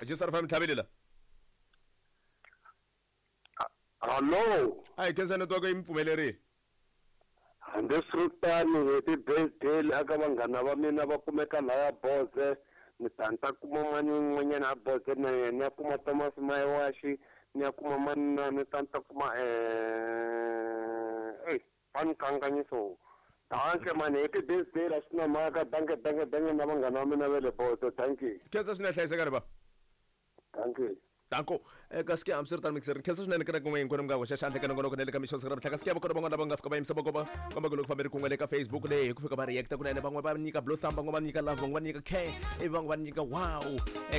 Jisar FM tlhavelela. Hallo. A hi khensa network yi mi pfumelerile. Hambiswiritano happy birthday aka vanghana va mina va kumeka laya Boze ni ta ni ta kuma mani un'wanyana a Boze na yena ni ya kuma Thomas Mayiwaxi ni ya kuma mani na ni ta ni ta kuma eh va ni kanganyiso danke mani happy birthday la swi na mhaka danke danke danke na vanghana va mina va le Boze danke. Khensa swinene hlayisekani ba. Danke. Danko. Kasi ke hambiswiritano mixer khensa swinene ka kun'we hinkwenu mi nga hoxa xandla eka nongonoko na le ka mixo siku ra mihla kasi ke va kona van'wana lava nga fika va yimisa voko va komba ku loko fambe ri kun'we le ka Facebook leyi hi ku fika va reacta kunene van'we va nyika blue thumb van'we va nyika love van'we va nyika care ivi van'we va nyika wow.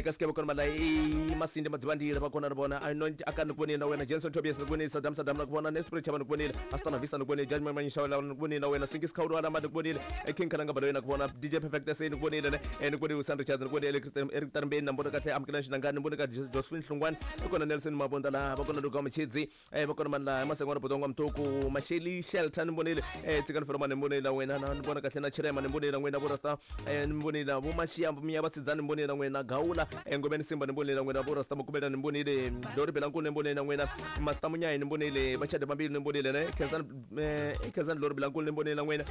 Kasi ke va kona mala i Masindi Madzivandile va kona ri vona I know aka ni ku vonile na wena Jensen Tobias ni ku vonile Saddam Saddam na ku vona Nesprit Chava ni ku vonile Astana Vista ni ku vonile Judge Manyisha ni ku vonile na wena Sinkis Khawulwa na ni ku vonile King Kalanga Baloyi na ku vona DJ Perfect SA ni ku vonile ne ni ku vonile Sam Richards ni ku vonile Eric Tarmbeni na mbona kahle Amukelani Xinangani ni vone ka Josephine Hlungwani i kona Nelson Mabunda laha va kona Luka Mchidzi va kona mani laha Masengwana Bodongo Mtuku Masheli Shelter ni vonile Tsikani Felomani ni vonile wena na ni vona kahle na Chirema ni vonile n'wina vo Rasta ni vonile vo Mashiya Miya Vatsidzani ni vonile n'wina Gawula Ngomeni Simba ni vonile n'wina vo Rasta Mukubela ni vonile Dori Belankulu ni vonile n'wina Master Munyayi ni vonile Vachade Vambili ni vonile ne Khensani Khensani Lori Belankulu ni vonile n'wina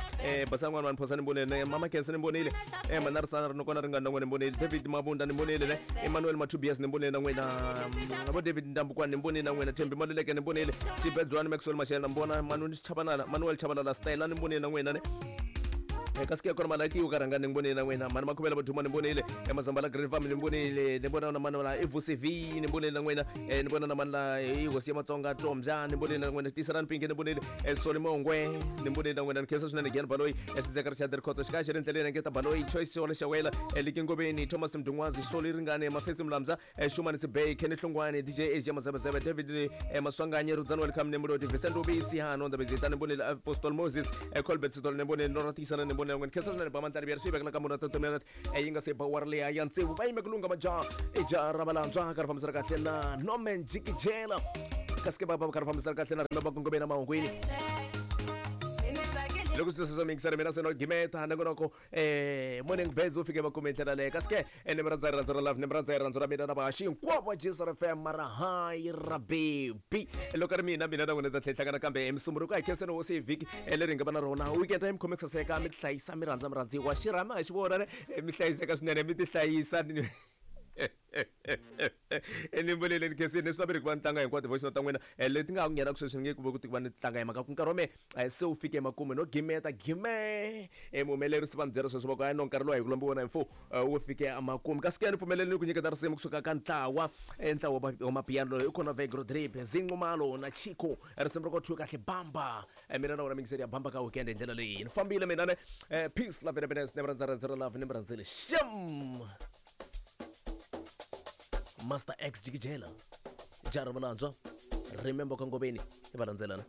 Basani N'wana Vanhu Phosa ni vonile ne Mama Khensa ni vonile Manarisana ri kona ri nga na n'wina ni vonile David Mabunda ni vonile ne Emmanuel Matubias ni vonile na n'wina vo David Ndambukwana ni vonile na n'wina Thembi Maluleke ni vonile Xibedzwani Maxwell Mashele na mbona Manuel Chabalala Manuel Chabalala Stella ni vonile na n'wina ne kasi ke kona malaki ka rhanga ni vonile na n'wina mani makhuvela voduma ni vonile Mazambala Green Farm ni vonile ni vona na mani la i VCV ni vonile na n'wina ni vona na mani la i hosi ya Matsonga Tombya ni vonile na n'wina Tiselani Pinki ni vonile Soli Mongwe ni vonile na n'wina ni khensa swinene Gian Baloyi Sizeka Richard Rikhotso xikaya xi ri ndleleni Ngeta Baloyi Choice Xewela Xewela Liki Ngobeni Thomas Mdungwazi Soli Ringane Mafesi Mlamza Shumani Sibey Kenny Hlongwane DJ AJ Mazebezebe David Maswanganyi Rudzani Welcome Nemuloti Vincent Rubisi Hano Ndabezita ni vonile Apostle Moses Colbert Sitole ni vonile Nora Tisana ni vonile n'wina khensa swinene ba Mandlani Biyari swi vekela ka muna 30 minutes yi nga se ba war leya ya tsevu va yime ku lunga majaha i jaha ra valantswa ka ri fambisana kahle na Norman Jikijela kasi ke va va ka ri fambisana kahle na rima va kongomeni na mahungwini loko swi swi mingisana mina se no gimeta nongonoko morning birds wu fike va kume ndlela leyo kasi ke ni mi rhandza rirhandzu ra love ni mi rhandza rirhandzu ra mina na vahaxi hinkwavo va Jisr FM mara hayi ra baby loko ri mina mina na n'wina ta tlhela hlangana kambe hi Musumbunuko a hi khenseni hosi hi vhiki leri hi nga va na rona weekend mi khome ku saseka mi tihlayisa mi rhandza mi rhandziwa xirhami a xi vona ne mi hlayiseka swinene mi tihlayisa ni vulele ni khensini ni swi laveli ku va ni tlanga hinkwato voice note ta n'wina leti nga ha ku nghena ku sweswi ni nge ku ve ku ti va ni tlanga hi mhaka ku nkarhi wa mehe se wu fike emakumu no gimeta gime muhumelerisi va ni byela sweswo va ku hayi no nkarhi lowu a hi ku lombi wona hi mfo wu fike emakumu kasi ke ni pfumeleleni ku nyiketa risimu kusuka ka ntlawa ntlawa wa mapiano loyi i kona Vegro Drip Zinqumalo na Chico risimu ra ko thyiwe kahle bamba mina na wena mingiseri ya bamba ka weekend hi ndlela leyi ni fambile mina ne peace love and happiness ni mi rhandza rhandza ra love ni mi rhandzile xem Master X Jikijela Jara Valandzwa Remember Kangobeni i va landzelana.